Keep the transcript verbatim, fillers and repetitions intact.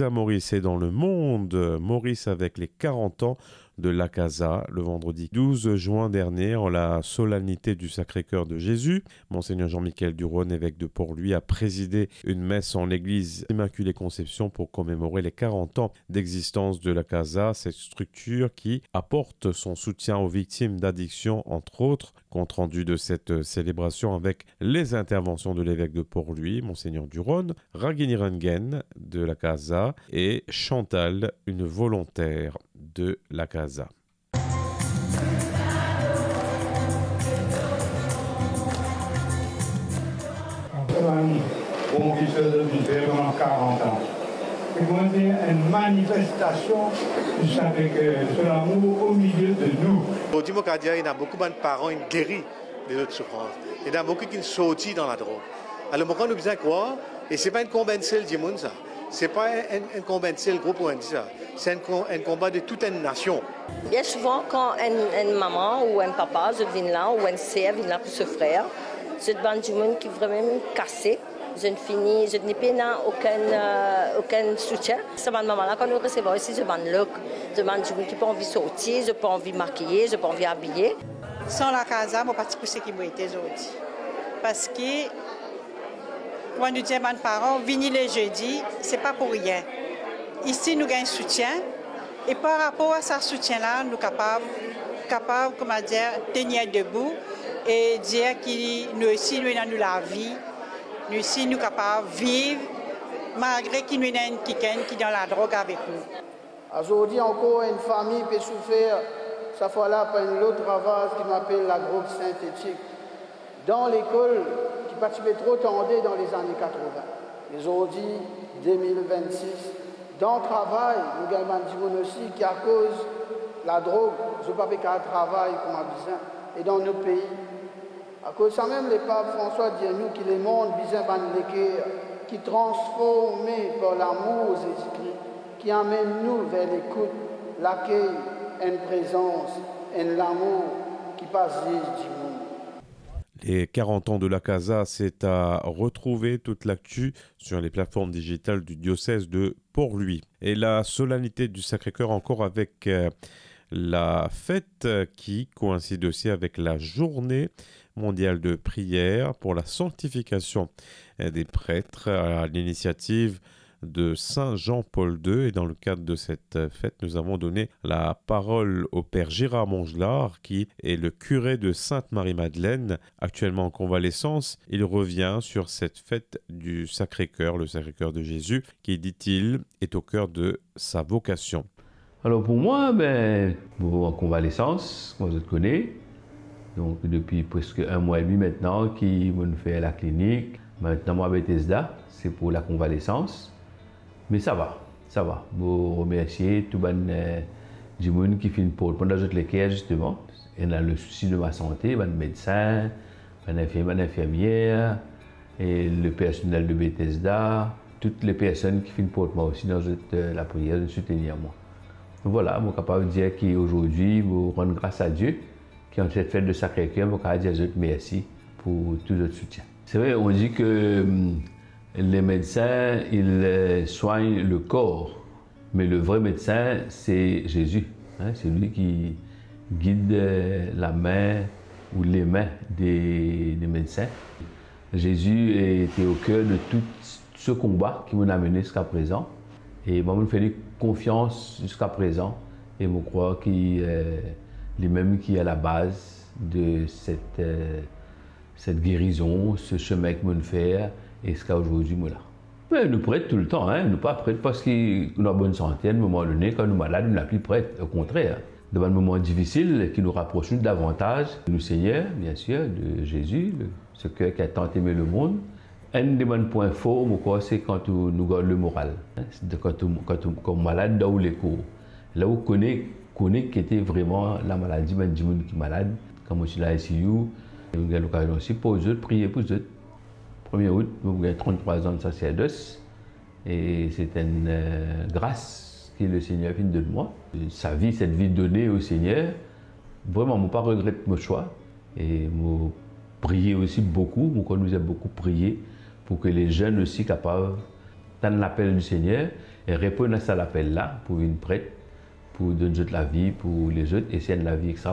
À Maurice et dans le monde, Maurice avec les quarante ans de la Casa. Le vendredi douze juin dernier, en la solennité du Sacré-Cœur de Jésus, Monseigneur Jean-Michel Duron, évêque de Port-Louis, a présidé une messe en l'église Immaculée Conception pour commémorer les quarante ans d'existence de la Casa, cette structure qui apporte son soutien aux victimes d'addiction, entre autres. Compte rendu de cette célébration avec les interventions de l'évêque de Port-Louis, Monseigneur Duron, Ragini Rengen de la Casa et Chantal, une volontaire de la Casa. Bon, ki sa zot finn fer pandan karant an. Se kouma enn manifestasion de sa, avek, euh, so lamour o milie de nou. Zordi, mo kapav dir, ena boukou bann paran inn geri de zot soufrans. Ena boukou ki sorti dan ladrog. Alor, mo krwar nou bizin krwar, e se pa enn konba enn sel dimoun, sa. Se pa enn, enn, enn konba enn sel group ou enn sa. Se enn kon-, enn konba de tout enn nasion. Bien souvan, kan enn, enn mama ou enn papa, zot vinn la, ou enn ser vinn la pou so frer, zot bann dimoun ki vremem kase, zot fini, zot ni pena okenn, euh, okenn soutien. Sa bann mama la, kan nou resevwar isi, zot bann lok, zot bann dimoun ki pa anvi sorti, zot pa anvi makiye, zot pa anvi abiye. San la Casa, mo pa ti pou seki mo ete zordi. Parski, kouma nou dir bann paran, vini le zedi, se pa pou rien. Isi, nou gagn soutien, e par rapor a sa soutien la, nou kapav, kapav, kouma dir, tenir debou e dir ki nou osi, nou ena nou lavi, nou osi, nou kapav viv, malgre ki nou ena enn kikenn ki dan ladrog avek nou. Azordi ankor, enn fami pe soufer, safwa la par enn lot ravaz ki nou apel ladrog sintetik. Dan lekol, ki pa ti pe tro tande dan lezane katrovin. Me zordi, de mil vennsis, dan travay, nou gagn bann dimoun osi ki akoz ladrog, zot pa pe kapav travay kouma bizin. E dan nou pei, Akoz samem, Lepap Franswa dir nou ki lemond bizin bann leker ki transforme par lamour Zezi Kri, ki amenn nou ver lekout, lakey, enn prezans, enn lamour ki pa ziz dimoun. Les quarante ans de la Casa, c'est à retrouver toute l'actu sur les plateformes digitales du diocèse de Port-Louis. Et la solennité du Sacré-Cœur encore avec, euh, la fête, euh, qui coïncide aussi avec la journée mondiale de prière pour la sanctification, euh, des prêtres à l'initiative de Saint Jean-Paul deux. Et dans le cadre de cette, euh, fête, nous avons donné la parole au père Gérard Mongelard, qui est le curé de Sainte-Marie-Madeleine, actuellement en convalescence. Il revient sur cette fête du Sacré-Cœur, le Sacré-Cœur de Jésus, qui, dit-il, est au cœur de sa vocation. Alors pour moi, ben, mo an konvalesans, kouma zot kone. Donk depi preske enn mwa edmi aster ki mo'nn fer laklinik. Aster mo Betesda, se pou lakonvalesans. Me sa va, sa va. Mo remersie tou bann, eh, dimoun ki finn port mwa dan zot leker, zisteman. Ena le sousi de ma sante, bann medsin, bann infirmie, bann infirmier, e le personel de Betesda, tout le personn ki finn port mwa osi dan zot, eh, lapriyer, zot soutenir mwa. Donk vwala, mo kapav dir ki azordi, mo rann gras a Die, ki an set fet de Sakre-Ker, mo kapav dir zot mersi pou tou zot soutien. C'est vrai, on dit que, hum, les médecins, ils, euh, soignent le corps, mais le vrai médecin, c'est Jésus, hein, c'est lui qui guide, euh, la main ou les mains des, des médecins. Jésus était au cœur de tout ce combat ki mo'nn amenn ziska prezan. E mwa, mo'nn fer li konfians ziska prezan. E mo krwar ki, eh, limem ki a la baz de set, eh, set gerizon, se semin ki mo'nn fer, e ziska azordi mo la. Me nou pret toultan, hein, nou pa pret parski nou an bonn sante, enn moman done, kan nou malad, nou nepli pret. Okontrer, dan bann moman difisil ki nou rapros nou davantaz de nou Segner, bien sir, de Zezi, le, ce cœur qui a tant aimé le monde. Enn de bann pwin for, mo krwar, se kan ou, nou gard le moral, hein. Se de kan ou, kan ou, kan ou malad dan ou lekor. La ou kone, kone ki ete vreman lamaladi bann dimoun ki malad. Kan mo ti la I C U, nou gagn lokazion osi pou zot, priye pou zot. Premie out, mo gagn trant-trwa zan de saserdos. E se enn, eh, gras ki le Segner finn donn mwa. Sa vi, set vi done o Segner, vreman, mo pa regret mo swa. E mo priye osi boukou, mo krwar nou bizin boukou priye pou ki le zenn osi kapav tann lapel di Segner. E reponn a sa lapel la pou vinn pret, pou donn zot lavi pou lezot, e se enn lavi extra